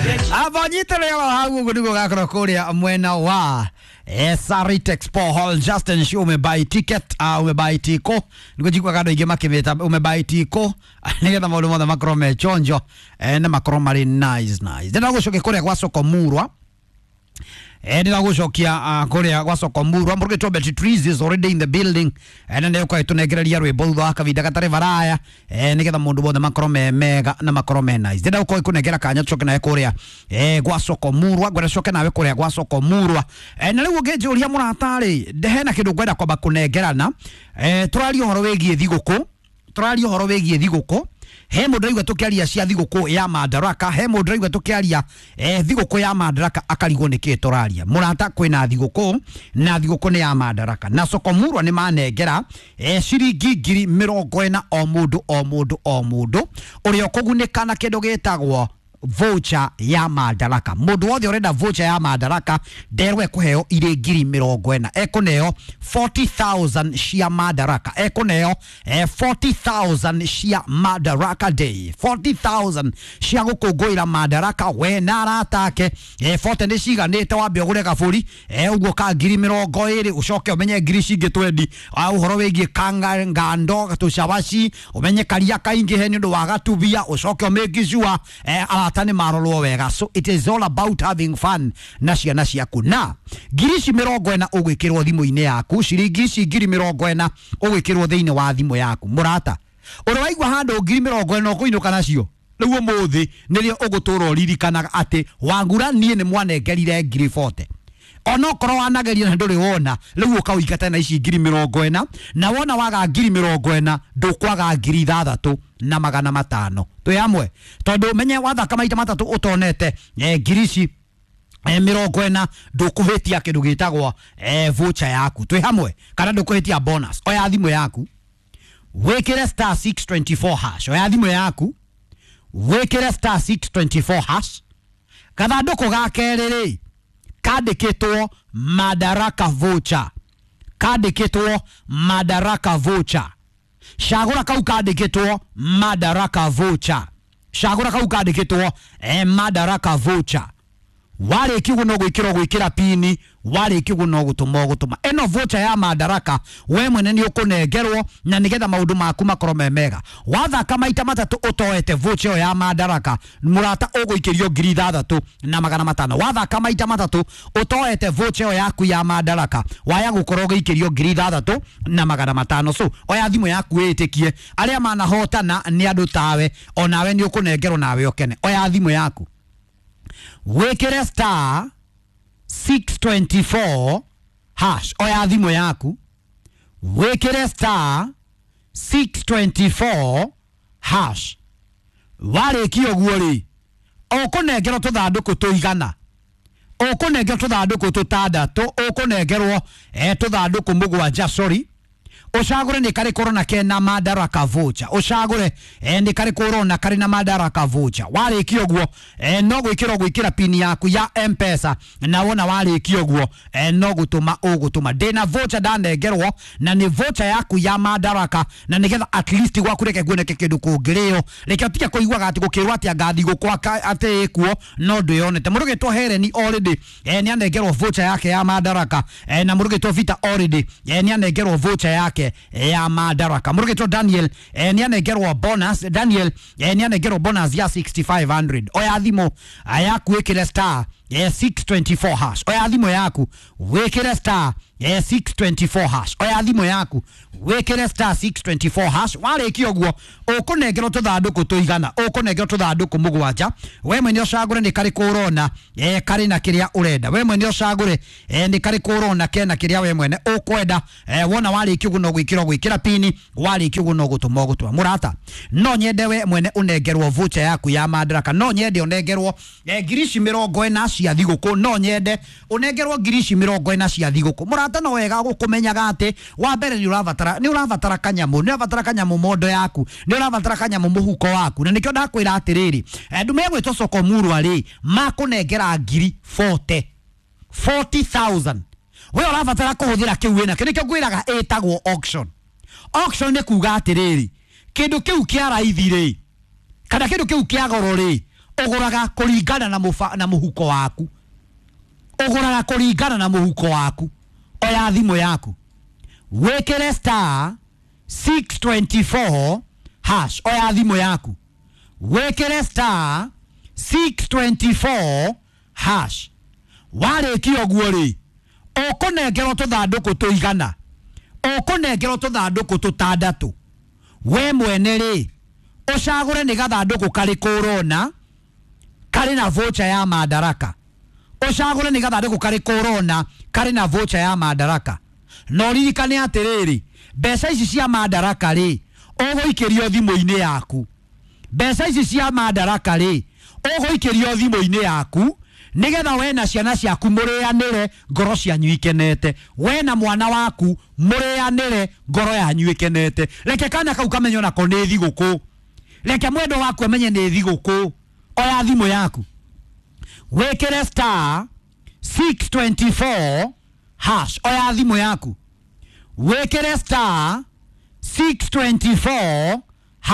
Abanyitire hau ũguo nĩguo gakorwo kũrĩa mwena wa Sarit Expo Hall. Justin Show umebuy ticket, umebuy tiko nĩguo njiguaga andũ aingĩ makĩmĩta umebuy tiko nĩgetha maũndũ mothe makorwo me chonjo na makorwo marĩ nice nice. Ndĩrenda gũcokia kũrĩa gwa Soko Murwa. Ndĩragũcokia kũrĩa gwa Soko Murwa. Mũrugĩtwo Betty Trees is already in the building, na nĩũkorwo ĩtũnengereria rwĩmbo thutha wa kahinda gatarĩ baraya, nĩgetha mũndũ wothe makorwo me mega na makorwo me nice. Ndĩrenda gũkorwo ĩkũnengera kanya tũcoke nawe kũrĩa gwa Soko Murwa. Ngwenda coke nawe kũrĩa gwa Soko Murwa, na rĩu ũngĩnjũria mũrata-rĩ, hena kĩndũ ngwenda kwamba kũnengerana. Tũraria ũhoro wĩgiĩ thigũkũ, tũraria ũhoro wĩgiĩ thigũkũ. He mũndũ aigua tũkĩaria cia thigũkũ ya Madaraka, he mũndũ aigua tũkĩaria thigũkũ ya Madaraka akarigwo nĩkĩ tũraria. Mũrata, kwĩna thigũkũ na thigũkũ nĩ ya Madaraka, na Soko Murwa nĩ manengera ciringi 40,000 o mũndũ o mũndũ o mũndũ ũrĩa ũkũgunĩka na kĩndũ gĩtagwo voucher ya Madaraka. Mũndũ wothe ũrenda voucher ya Madaraka nderwo ekũheo irĩ 40,000, ekũneo 40,000 cia Madaraka, ekũneo 40,000 cia Madaraka Day, 40,000 cia gũkũngũĩra Madaraka we na arata ake. 40 nĩ ciganĩte, wambe ũgũre gabũri ũguo ka 20,000, ũcoke ũmenye ngiri cingĩ 20 ũhoro wĩgiĩ kanga ngando tũcabaci, ũmenye karia kaingĩhe nĩ ũndũ wa gatubia, ũcoke ũmake sure arata nĩ marorwo wega. So it is all about having fun na ciana ciaku. Na ngiri ici 40 ũgwĩkĩrwo thimũ-inĩ yaku, ciringi ici 40,000 ũgwĩkĩrwo thĩinĩ wa thimũ yaku. Mũrata, ũrĩa waigua handũ 40,000 ũkũinũka nacio rĩu ũmũthĩ nĩrĩo ũgũtũra ũririkanaga atĩ Wangura niĩ nĩ mwanengerire 40,000, onokorwo wanageria na ndũrĩ wona, rĩu ũkaũingata na ici 40,000, na wona waga 40,000 ndũkwaga 6,500. Twĩ hamwe? Tondũ menye wathaka maita matatũ ũtonete ngiri ici 40, ndũkũhĩtia kĩndũ gĩtagwo voucher yaku. Twĩ hamwe? Kana ndũkũhĩtia bonus. Oya thimũ yaku wĩkĩre star 624 hash. Oya thimũ yaku wĩkĩre star 624 hash. Gathandũkũ ga kerĩ rĩ kandĩkĩtwo Madaraka voucher, kandĩkĩtwo Madaraka voucher. Cagũra kau kandĩkĩtwo Madaraka voucher, cagũra kau kandĩkĩtwo Madaraka voucher. Warĩkia ũguo no gwĩkĩra gwĩkĩra pini, warĩkia ũguo no gũtũma ũgũtũma ĩno voucher ya Madaraka. We mwene nĩ ũkũnengerwo na nĩgetha maũndũ maku makorwo me mega. Wathaka maita matatũ ũtoete voucher ĩyo ya Madaraka, mũrata, ũgũikĩrio 6,500. Wathaka maita matatũ ũtoete voucher ĩyo yaku ya Madaraka, waya gũkorwo ũgĩikĩrio 6,500. So oya thimũ yaku wĩtĩkie arĩa manahotana nĩ andũ tawe, onawe nĩ ũkũnengerwo nawe ũkene. Oya thimũ yaku wĩkĩre star 624 hash. Oya thimũ yaku wĩkĩre star 624 hash. Warĩkia ũguo rĩ, ũkũnengerwo tũthandũkũ tũigana, ũkũnengerwo tũthandũkũ tũtandatũ, ũkũnengerwo tũthandũkũ mũgwanja, sorry. Ũcagũre nĩ karĩkũ ũrona kena Madaraka voucher, ũcagũre nĩ karĩkũ ũrona karĩ na Madaraka voucher. Warĩkia ũguo no gwĩkĩra gwĩkĩra pini yaku ya M-Pesa, na wona warĩkia ũguo no gũtũma ũgũtũma. Ndĩna voucher ndanengerwo na nĩ voucher yaku ya Madaraka, na nĩgetha at least gwaku reke kuoneke kĩndũ kũngĩrĩo. Reke ũtige kũiguaga atĩ gũkĩrwo atĩ anga thigũkũ atĩ ĩkuo no ndwĩyonete. Mũrũgĩtwo Hereni already nĩ anengerwo voucher yake ya Madaraka, na mũrũgĩtwo Vita already nĩ anengerwo voucher yake ya Madaraka. Mũrũgĩtwo Daniel nĩ anengerwo bonus, Daniel nĩ anengerwo bonus ya 6500. Oya thimũ yaku wĩkĩre star 624 hash. Oya thimũ yaku wĩkĩre star 624 hash. Oya thimũ yaku wĩkĩre star 624 hash. Warĩkia ũguo ũkũnengerwo tũthandũkũ tũigana, ũkũnengerwo tũthandũkũ mũgwanja. We mwene ũcagũre nĩ karĩkũ ũrona karĩ na kĩrĩa ũrenda. We mwene ũcagũre nĩ karĩkũ ũrona kena kĩrĩa we mwene ũkwenda. Wona warĩkia ũguo no gwĩkĩra gwĩkĩra pini, warĩkia ũguo no gũtũma ũgũtũma. Mũrata, no nyende we mwene ũnengerwo voucher yaku ya Madaraka, no nyende ũnengerwo ngiri ici 40 cia thigũkũ, no nyende ũnengerwo ngiri ici 40 cia thigũkũ. Mũrata, no wega gũkũmenyaga atĩ wa mbere nĩ ũrabatara kanyamũ, nĩ ũrabatara kanyamũ mondo yaku, nĩ ũrabatara kanyamũ mũhuko waku, na nĩkĩo ndakwĩra atĩrĩrĩ, andũ megwĩtwo Soko Murwa rĩ makũnengera ngiri 40, 40,000. We ũrabatara kũhũthĩra kĩu wĩnakĩo. Nĩkĩo ngwĩraga ĩtagwo auction. Auction nĩ kuga atĩrĩrĩ, kĩndũ kĩu kĩa raithi rĩ kana kĩndũ kĩu kĩa goro rĩ Ũgũraga kũringana na mũba, na mũhuko waku. Ũgũraga kũringana na mũhuko waku. Oya thimũ yaku, wĩkĩre star 624 hash. Oya thimũ yaku, wĩkĩre star 624 hash. Warĩkia ũguo rĩ, ũkũnengerwo tũthandũkũ tũigana, ũkũnengerwo tũthandũkũ tũtandatũ. We mwene rĩ, ũcagũre nĩ gathandũkũ karĩkũ ũrona karĩ na voucher ya Madaraka. Ũcagũre nĩ gathandũkũ karĩkũ ũrona karĩ na voucher ya Madaraka. Na ũririkane atĩrĩrĩ, mbeca ici cia Madaraka rĩ, ũgũikĩrio thimũ-inĩ yaku. Mbeca ici cia Madaraka rĩ, ũgũikĩrio thimũ-inĩ yaku nigetha we na ciana ciaku mũrĩanĩre ngoro cianyu ikenete. We na mwana waku mũrĩanĩre ngoro yanyu ikenete. Reke kana kau kamenye onako nĩ thigũkũ. Reke mwendwa waku amenye nĩ thigũkũ. Oya thimũ yaku, wĩkĩre star 624 hash. Oya thimũ yaku, wĩkĩre star 624.